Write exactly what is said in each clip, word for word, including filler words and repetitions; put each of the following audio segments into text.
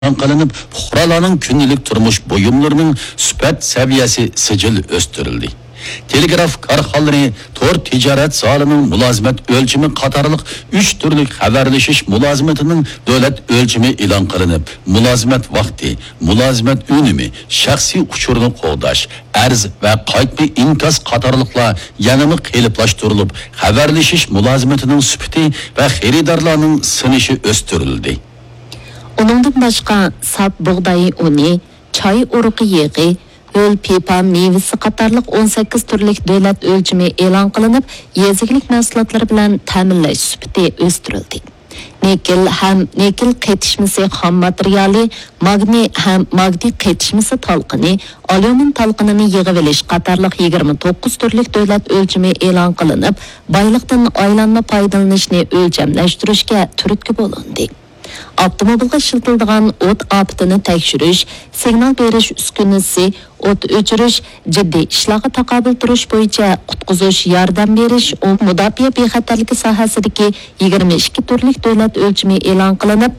ئېلان قىلىنىپ، پۇقرالارنىڭ كۈندىلىك تۇرمۇش بۇيۇملىرىنىڭ سۈپەت سەۋىيەسى سىجىل ئۆستۈرۈلدى. تېلېگراف كارخانىلىرى تور تىجارەت زالىنىڭ مۇلازىمەت ئۆلچىمى قاتارلىق ئۈچ تۈرلۈك خەۋەرلىشىش مۇلازىمىتىنىڭ دۆلەت ئۆلچىمى ئېلان قىلىنىپ، مۇلازىمەت ۋاقتى، مۇلازىمەت ئۈنۈمى، شەخسىي ئۇچۇرنى قوغداش، ئەرز ۋە قايتما ئىنكاس قاتارلىقلار يەنىمۇ قېلىپلاشتۇرۇلۇپ، خەۋەرلىشىش مۇلازىمىتىنىڭ سۈپىتى ۋە خېرىدارلارنىڭ سىنىشى ئۆستۈرۈلدى. ئۇنىڭدىن باشقا، ساپ بۇغداي ئۇنى، چاي ئۇرۇقى يېغى، ھۆل پىپا مېۋىسى قاتارلىق ئون سەككىز تۈرلۈك دۆلەت ئۆلچىمى ئېلان قىلىنىپ، يېزا ئىگىلىك مەھسۇلاتلىرى بىلەن تەمىنلەش سۈپىتى ئۆستۈرۈلدى. نىكېل ھەم نىكېل قېتىشمىسى خام ماتېرىيالى، ماگنىي ھەم ماگنىي قېتىشمىسى تالقىنى، ئاليۇمىن تالقىنىنى يىغىۋېلىش قاتارلىق يىگىرمە توققۇز تۈرلۈك دۆلەت ئۆلچىمى ئېلان قىلىنىپ، بايلىقتىن ئايلانما پايدىلىنىشنى ئۆلچەملەشتۈرۈشكە تۈرتكە بولۇندى. ئاپتوموبىلغا ئىشلىتىلىدىغان ئوت ئاپىتىنى تەكشۈرۈش، سىگنال بېرىش ئۈسكۈنىسى، ئوت ئۆچۈرۈش، جىددىي ئىشلارغا تاقابىل تۇرۇش بويىچە قۇتقۇزۇش ياردەم بېرىش، ئۇ مۇداپىئە بىخەتەرلىكى ساھەسىدىكى يىگىرمە ئىككى تۈرلۈك دۆلەت ئۆلچىمى ئېلان قىلىنىپ،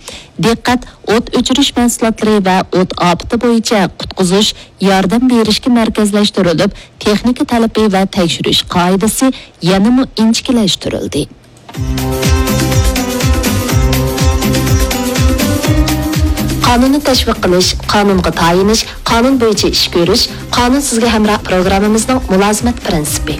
دىققەت ئوت ئۆچۈرۈش مەھسۇلاتلىرى ۋە ئوت ئاپىتى بويىچە قۇتقۇزۇش، ياردەم بېرىشكە مەركەزلەشتۈرۈلۈپ، تېخنىكا تەلىپى ۋە تەكشۈرۈش قائىدىسى يەنىمۇ ئىنچىكىلەشتۈرۈلدى. قانۇننى تەشۋىق قىلىش، قانۇنغا تايىنىش، قانۇن بويىچە ئىش كۆرۈش، قانۇن سىزگە ھەمراھ پروگراممىمىزنىڭ مۇلازىمەت پىرىنسىپى.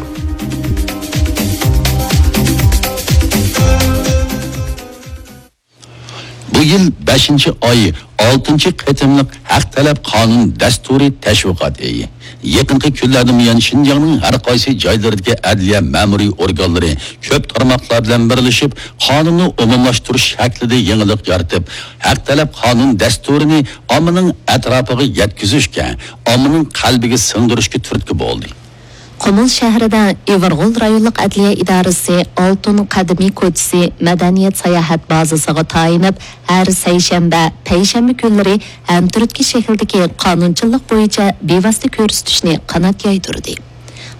بۇ يىل بەشىنچى ئاي ئالتىنچى قېتىملىق ھەق تەلەپ قانۇن دەستۇرى تەشۋىقات ئېيى. يېقىنقى كۈنلەردىن بۇيان، شىنجاڭنىڭ ھەر قايسى جايلىرىدىكى ئەدلىيە مەمۇرىي ئورگانلىرى كۆپ تارماقلار بىلەن بىرلىشىپ، قانۇننى ئومۇملاشتۇرۇش شەكلىدە يېڭىلىق يارىتىپ، ھەق تەلەپ قانۇن دەستۇرىنى ئاممىنىڭ ئەتراپىغا يەتكۈزۈشكە، ئاممىنىڭ قەلبىگە سىڭدۈرۈشكە تۈرتكە بولدى. قۇمۇل شەھىرىدە ئىۋىرغول رايونلۇق ئەدلىيە ئىدارىسى ئالتۇن قەدىمىي كوچىسى مەدەنىيەت ساياھەت بازىسىغا تايىنىپ، ھەر سەيشەنبە، پەيشەنبە كۈنلىرى ھەمتۈرتكە شەكلىدىكى قانۇنچىلىق بويىچە بىۋاسىتە كۆرسىتىشنى قانات يايدۇردى.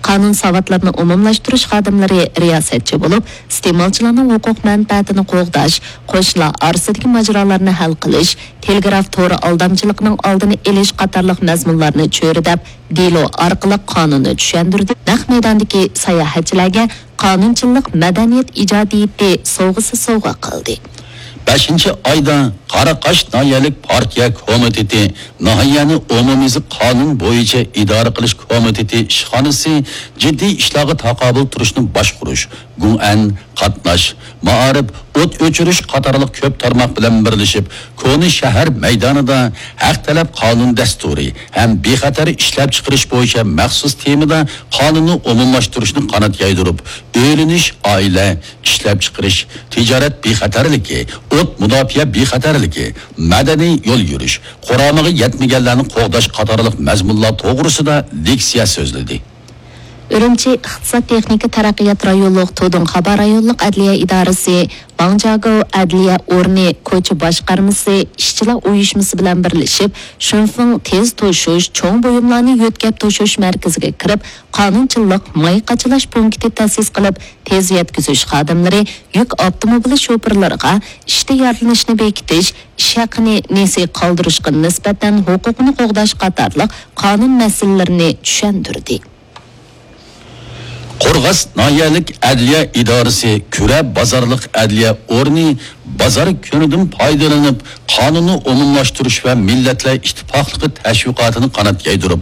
قانۇن ساۋاتلىرىنى ئومۇملاشتۇرۇش خادىملىرى رىياسەتچى بولۇپ، ئىستېمالچىلارنىڭ ھوقۇق مەنپەئەتىنى قوغداش، قوشنىلار ئارىسىدىكى ماجىرالارنى ھەل قىلىش، تېلېگراف تورى ئالدامچىلىقىنىڭ ئالدىنى ئېلىش قاتارلىق مەزمۇنلارنى چۆرىدەپ، دېلو ئارقىلىق قانۇننى چۈشەندۈردى. نەق مەيداندىكى ساياھەتچىلەرگە قانۇنچىلىق مەدەنىيەت ئىجادىيىتى سوۋغىسى سوۋغا قىلدى. بەشىنچى ئايدا قاراقاش ناھىيەلىك پارتىيە كومىتېتى، ناھىيەنى ئومۇميۈزلۈك قانۇن بويىچە ئىدارە قىلىش كومىتېتى ئىشخانىسى جىددىي ئىشلارغا تاقابىل تۇرۇشنى باشقۇرۇش، گۇڭئەن، قاتناش، مائارىپ، ئوت ئۆچۈرۈش قاتارلىق كۆپ تارماق بىلەن بىرلىشىپ، كونا شەھەر مەيدانىدا ھەق تەلەپ قانۇن دەستۇرى ھەم بىخەتەر ئىشلەپچىقىرىش بويىچە مەخسۇس تېمىدا قانۇننى ئومۇملاشتۇرۇشنى قانات يايدۇرۇپ، ئۆيلىنىش، ئائىلە، ئىشلەپچىقىرىش، تىجارەت بىخەتەرلىكى، ئوت مۇداپىئە بىخەتەرلىكى، مەدەنىي يول يۈرۈش، قۇرامىغا يەتمىگەنلەرنى قوغداش قاتارلىق مەزمۇنلار توغرىسىدا لېكسىيە سۆزلىدى. ئۈرۈمچى ئىقتىساد تېخنىكا تەرەققىيات رايونلۇق تۇدۇڭخابا رايونلۇق ئەدلىيە ئىدارىسى، ۋاڭجياگو ئەدلىيە ئورنى كوچا باشقارمىسى، ئىشچىلار ئۇيۇشمىسى بىلەن بىرلىشىپ، شۇنفېڭ تېز توشۇش، چوڭ بۇيۇملارنى يۆتكەپ توشۇش مەركىزىگە كىرىپ، قانۇنچىلىق ماي قاچىلاش پونكىتى تەسىس قىلىپ، تېز يەتكۈزۈش خادىملىرى، يۈك ئاپتوموبىلى شوپۇرلىرىغا ئىشتا يارىلىنىشنى بېكىتىش، ئىش ھەققىنى نېسى قالدۇرۇشقا نىسبەتەن ھوقۇقنى قوغداش قاتارلىق قانۇن مەسىلىلىرىنى چۈشەندۈردى. قورغاس ناھىيەلىك ئەدلىيە ئىدارىسى كۈرە بازارلىق ئەدلىيە ئورنى بازار كۈنىدىن پايدىلىنىپ، قانۇننى ئومۇملاشتۇرۇش ۋە مىللەتلەر ئىتتىپاقلىقى تەشۋىقاتىنى قانات يايدۇرۇپ،